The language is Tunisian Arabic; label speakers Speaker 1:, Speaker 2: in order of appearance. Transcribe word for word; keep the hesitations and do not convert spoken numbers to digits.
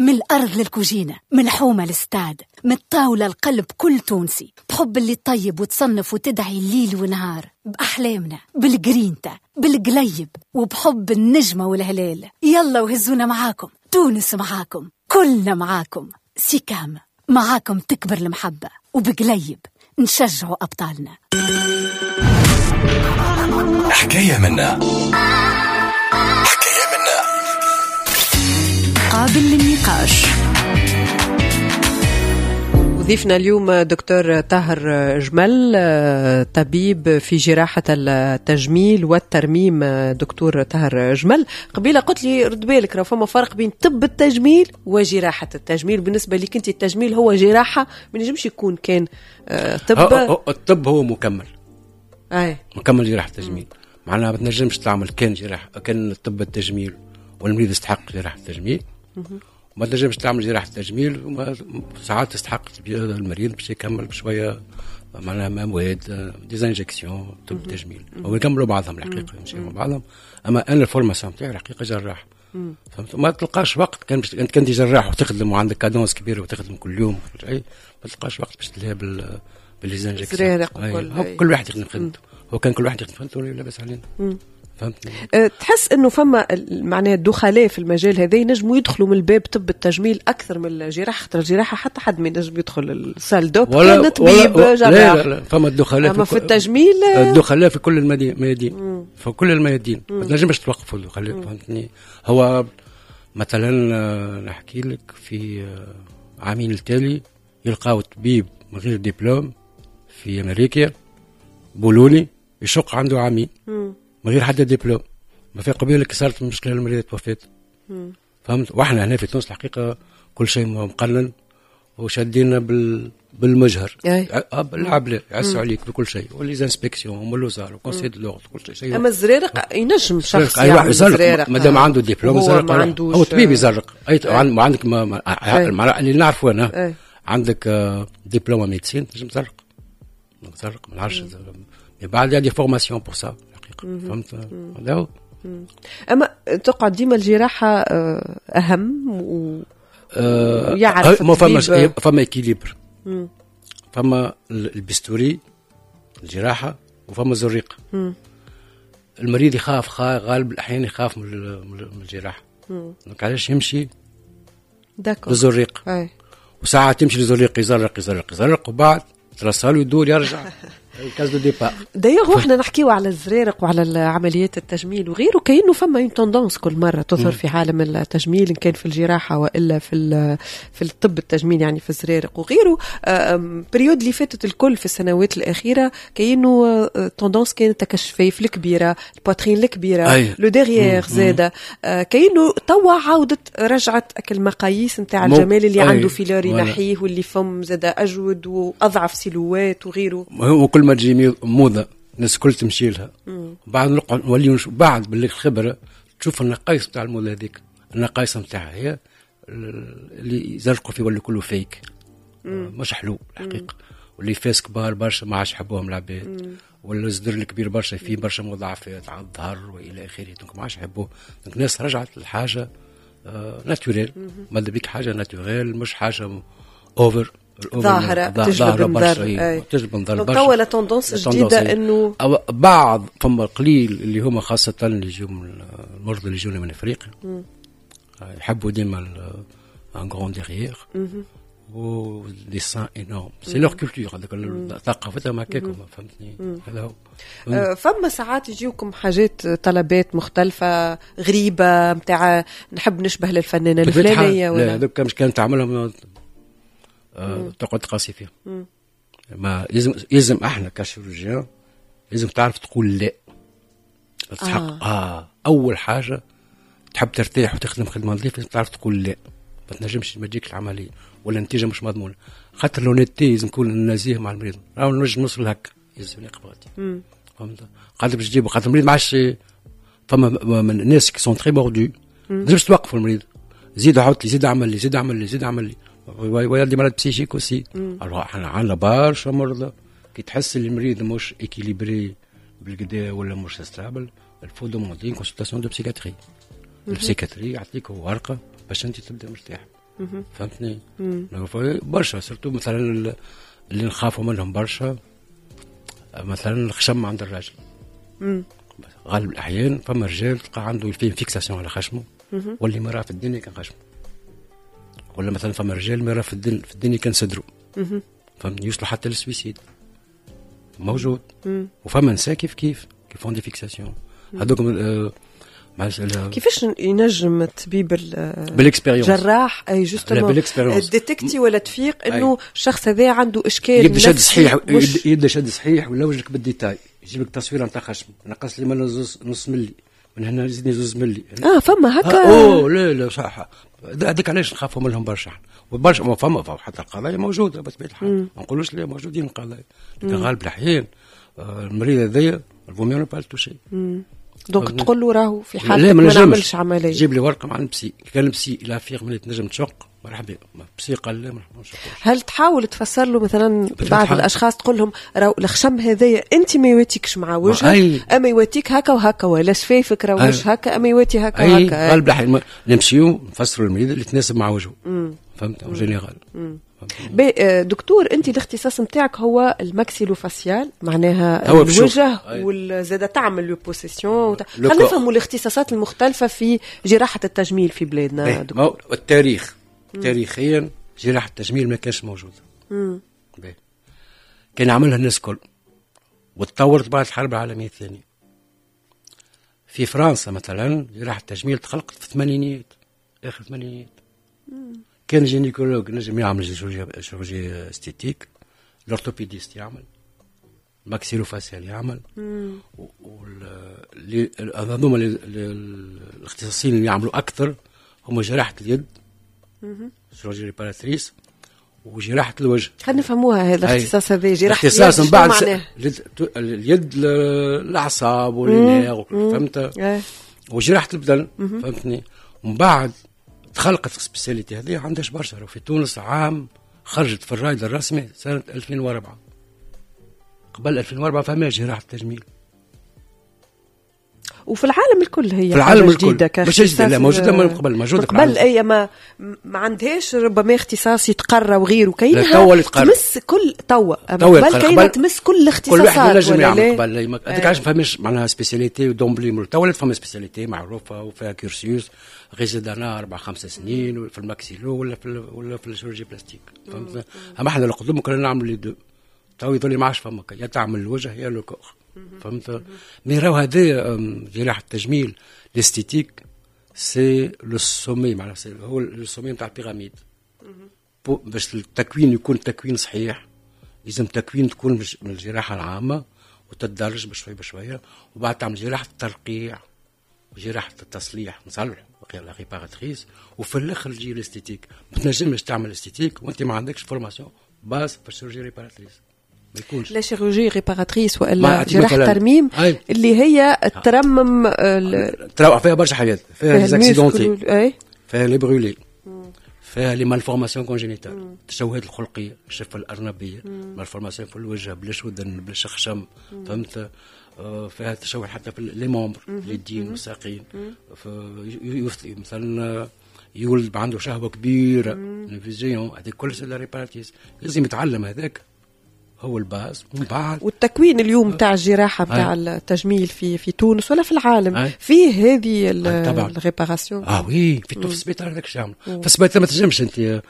Speaker 1: من الأرض للكوجينة، من الحومة للستاد، من الطاولة لقلب كل تونسي، بحب اللي طيب وتصنف وتدعي الليل ونهار، بأحلامنا، بالجرينتا، بالقليب، وبحب النجمة والهلال. يلا وهزونا معاكم، تونس معاكم، كلنا معاكم. سيكام معاكم تكبر المحبة، وبقليب نشجعوا أبطالنا.
Speaker 2: حكاية منا، حكاية منا،
Speaker 1: قابل للنقاش.
Speaker 3: ضيفنا اليوم دكتور طاهر جمل، طبيب في جراحة التجميل والترميم. دكتور طاهر جمل، قبيلة قلت لي رد بالك راه فما فرق بين طب التجميل وجراحة التجميل. بالنسبة لك انت التجميل هو جراحة، ما ينجمش يكون كان طب.
Speaker 4: الطب هو مكمل.
Speaker 3: أي.
Speaker 4: مكمل جراحة التجميل، معناها ما تنجمش تعمل كان جراحة كان طب التجميل والمريض يستحق جراحة التجميل، ما تنجمش تعمل جراحة التجميل وساعات تستحق المريض باش يكمل بشوية معناها مواد des injections طب التجميل، هو يكملوا بعضهم الحقيقة، يمشيوا مع بعضهم. اما انا ال formation تاعي الحقيقة جراح، فهمت؟ ما تلقاش وقت، كان باش انت كنت جراح وتخدم وعندك cadence كبيرة وتخدم كل يوم وكل شيء، ما تلقاش وقت باش تلهي بال ب les injections. كل واحد يخدم خدمته، هو كان كل واحد يخدم خدمته لاباس علينا. فهمتني؟
Speaker 3: أه، تحس انه فما معناها الدخلاء في المجال هذا ينجموا يدخلوا من الباب طب التجميل اكثر من الجراحة؟ خاطر الجراحة حتى حد ما ينجم يدخل ال salle d'op كان طبيب جراح.
Speaker 4: لا لا لا، فما الدخلاء
Speaker 3: في, في التجميل،
Speaker 4: الدخلاء في كل الميادين، في كل الميادين ما تنجمش توقفوا الدخلاء، فهمتني؟ هو مثلا نحكي لك في عامين التالي يلقاو طبيب من غير دبلوم في امريكا بولوني يشق عنده عامين من غير حتى دبلوم، ما في قبيلة صارت المشكلة المريض توفات. فهمت؟ واحنا هنا في تونس الحقيقة كل شيء مقنن وشادينا بال بالمجهر بالعبله، يعسوا عليك بكل شيء، و les inspections والوزارة و conseil de l'ordre كل شيء.
Speaker 3: اما الزرارق ينجم شخص يعمل زرارق
Speaker 4: مادام عنده دبلوم يزرق، هو طبيب يزرق. اي عندك ما اللي نعرفه انا، عندك diplôme médecine تنجم تزرق، تزرق ما نعرفش بعد y a des formations pour ça الحقيقة، فهمت؟ هذا هو.
Speaker 3: اما تقعد ديما الجراحة اهم و
Speaker 4: يعرف ما فما فما équilibre، فما ال bistouri الجراحة وفما الزريقه. المريض يخاف، غالب الاحيان يخاف من الجراحة، donc علاش يمشي للزريق؟ وساعات تمشي للزريق يزرق يزرق يزرق وبعد ترسل يدور يرجع case de départ.
Speaker 3: d'ailleurs احنا نحكيو على الزرارق وعلى عمليات التجميل وغيره، كأنه فما une tendance كل مرة تظهر في عالم التجميل، ان كان في الجراحة والا في في الطب التجميل، يعني في الزرارق وغيره. période اللي فاتت الكل في السنوات الاخيرة كأنه tendance كانت الشفايف الكبيره، ال poitrine الكبيره، le derrière زاده، كأنه توا عاودت رجعت المقاييس نتاع الجمال اللي عنده filler ينحيه واللي فم زاده اجود واضعف silhouette وغيره.
Speaker 4: وكل ما تجي موضة الناس الكل تمشي لها، بعد نقعد نولي بعد بالخبرة تشوف النقائص نتاع الموضة هذيك، النقائص نتاعها هي اللي يزرقوا فيه ولا كله fake، مش حلو الحقيقة، واللي fesses كبار برشا ما عادش يحبوهم العباد، ولا الصدر الكبير برشا فيه برشا مضاعفات على الظهر والى اخره، donc ما عادش يحبوه. donc الناس رجعت لحاجة آه naturelle، ماذا بيك حاجة naturelle مش حاجة over
Speaker 3: ظاهرة تجلب النظر،
Speaker 4: تجلب النظر برشا.
Speaker 3: توا la tendance جديدة انه
Speaker 4: بعض فما قليل اللي هما خاصة اللي يجوا من المرضى اللي يجونا من افريقيا يحبوا ديما un grand derrière و des seins énormes، c'est leur culture، هذاك ثقافتهم هكاك، فهمتني؟ هذا
Speaker 3: هو. فما ساعات يجيوكم حاجات طلبات مختلفة غريبة نتاع نحب نشبه للفنانة الفلانية
Speaker 4: ولا؟ لا، هذوك مش كانت تعملهم تقعد تقاسي فيهم. ما لازم لازم احنا ك chirurgien لازم تعرف تقول لا. تحق آه. آه. اول حاجة تحب ترتاح وتخدم خدمة نظيفة لازم تعرف تقول لا، ما تنجمش ما تجيك العملية ولا النتيجة مش مضمونه، خاطر l'honnêteté لازم نكون نزيه مع المريض، راهو نجم نوصل هكا لازم نقبل، فهمت؟ خاطر باش تجيبو، خاطر المريض ما عادش فما من الناس qui sont très mordus، ما تنجمش توقفوا المريض، زيد عاود لي، زيد عمل لي، زيد عمل لي، زيد عمل لي، ويا des malades psychiques aussi. احنا عندنا برشا مرضى كي تحس اللي المريض مش équilibré بالكدا ولا مش stable، il faut demander consultation de psychiatrie. ال psychiatrie يعطيك ورقة باش انت تبدا مرتاح. فهمتني؟ برشا، surtout مثلا اللي نخافوا منهم برشا، مثلا الخشم عند الراجل. غالب الاحيان فما رجال تلقى عنده فيه fixation على خشمه، واللي ما في الدنيا كان خشمه، ولا مثلا فما رجال ما في الدنيا في الدنيا كان صدره، فهمتني؟ يوصلوا حتى لل suicide موجود. وفما نساء كيف كيف qui font des fixations هذوك. آه
Speaker 3: كيفاش ينجم الطبيب
Speaker 4: بال expérience.
Speaker 3: جراح، اي justement،
Speaker 4: بال expérience.
Speaker 3: détecter ولا تفيق انه الشخص هذا عنده اشكال؟
Speaker 4: يبدا شد صحيح، يبدا شد صحيح ولا وجهك بال détail، يجيب لك تصويره نتاع خشم، نقص لي من نص ملي من هنا، زيدني زوز ملي.
Speaker 3: اه، فما هكا؟
Speaker 4: آه اوه لا لا، صح، هذاك علاش نخافوا منهم برشا وبرشا. فما حتى القضايا موجودة بطبيعة الحال، ما نقولوش لا، موجودين القضايا، لكن غالب الاحيان آه، المريض هذايا vaut mieux pas toucher.
Speaker 3: donc تقول له راهو في حالتك ما نعملش عمليه.
Speaker 4: جيب لي ورقة مع ال psy، كان ال psy il affirme تنجم تشق، مرحبا، psy قال لا ما
Speaker 3: هل تحاول تفسر له مثلا بعض الاشخاص، تقول لهم راهو الخشم هذايا انت ما يواتيكش مع وجهك، اما يواتيك هكا وهكا، ولا شفايفك راهو مش هكا اما يواتي هكا وهكا؟
Speaker 4: غالب الاحيان نمشيو نفسروا المريض اللي تناسب مع وجهه، فهمت؟ en général.
Speaker 3: آه، دكتور، انت الاختصاص نتاعك هو ال maxillo-facial، معناها هو الوجه، وزاد تعمل liposuccion. خلينا نفهموا الاختصاصات المختلفة في جراحه التجميل في بلادنا.
Speaker 4: دكتور، التاريخ، تاريخيا جراحه التجميل ما كانش موجوده، كان عملها الناس الكل، وتطورت بعد الحرب العالمية الثانيه. في فرنسا مثلا جراحه التجميل تخلقت في الثمانينيات، اخر الثمانينيات. كان gynécologue نجم يعمل chirurgie esthétique، l'orthopédiste يعمل، maxillo-facial يعمل، هذوما الاختصاصيين اللي يعملوا اكثر هم جراحه اليد، chirurgie réparatrice، وجراحه الوجه.
Speaker 3: خلينا نفهموها هذا الاختصاص هذا، جراحه
Speaker 4: الاختصاص من بعد اليد، الاعصاب و les nerfs، فهمت؟ وجراحه البدن، فهمتني؟ ومن بعد تخلقت ال spécialité هذه، عندهاش برشا في تونس، عام خرجت في الرائد الرسمي سنة ألفين وأربعة. قبل ألفين وأربعة فما جراحة التجميل.
Speaker 3: وفي العالم الكل هي
Speaker 4: في العالم الكل مش جديدة، لا، موجودة من قبل، موجودة.
Speaker 3: قبل، اي، ما ما عندهاش ربما اختصاص يتقرى وغيره، كاينها
Speaker 4: توا
Speaker 3: تمس كل توا، قبل كاينها تمس كل الاختصاصات.
Speaker 4: كل واحد ينجم يعمل قبل. هذاك علاش ما فماش معناها spécialité d'emblée. توا ولات فما spécialité معروفة وفيها cursus résidanat اربع خمس سنين في ال maxillo ولا في ولا في ال chirurgie plastique، فهمت؟ اما احنا القدم كنا نعمل les deux، تو يظل ما عادش فما، يا تعمل الوجه يا le corps، فهمت؟ mais راهو هذا جراحه التجميل، l'esthétique، c'est le sommet، معناها هو le sommet نتاع ال pyramide. باش التكوين يكون تكوين صحيح لازم تكوين تكون من الجراحة العامة وتتدرج بشوي بشويه، وبعد تعمل جراحه الترقيع وجراحه التصليح، نصلح la réparatrice، وفي الاخر تجي l'esthétique. ما تنجمش تعمل esthétique وانت ما عندكش formation base في ال chirurgie réparatrice، ما يكونش.
Speaker 3: la chirurgie réparatrice والا جراحه ترميم اللي هي ترمم.
Speaker 4: ترمم فيها برشا حاجات، فيها les accidentés، فيها les brûlés، فيها les malformations congénitales، التشوهات الخلقيه، الشفه الارنبيه، malformation في الوجه، بلاش ودن، بلاش خشم، فهمت؟ آه، فيها تشوه حتى في les membres، اليدين والساقين، مثلا يولد عنده شهوة كبيره، vision، هذه كل c'est la réparatrice. لازم يتعلم، هذاك هو ال base، ومن بعد
Speaker 3: والتكوين اليوم تاع الجراحة تاع التجميل في في تونس ولا في العالم فيه هذه ال réparation؟
Speaker 4: اه oui، في في السبيطار هذاك الشيء. في السبيطار ما تنجمش انت.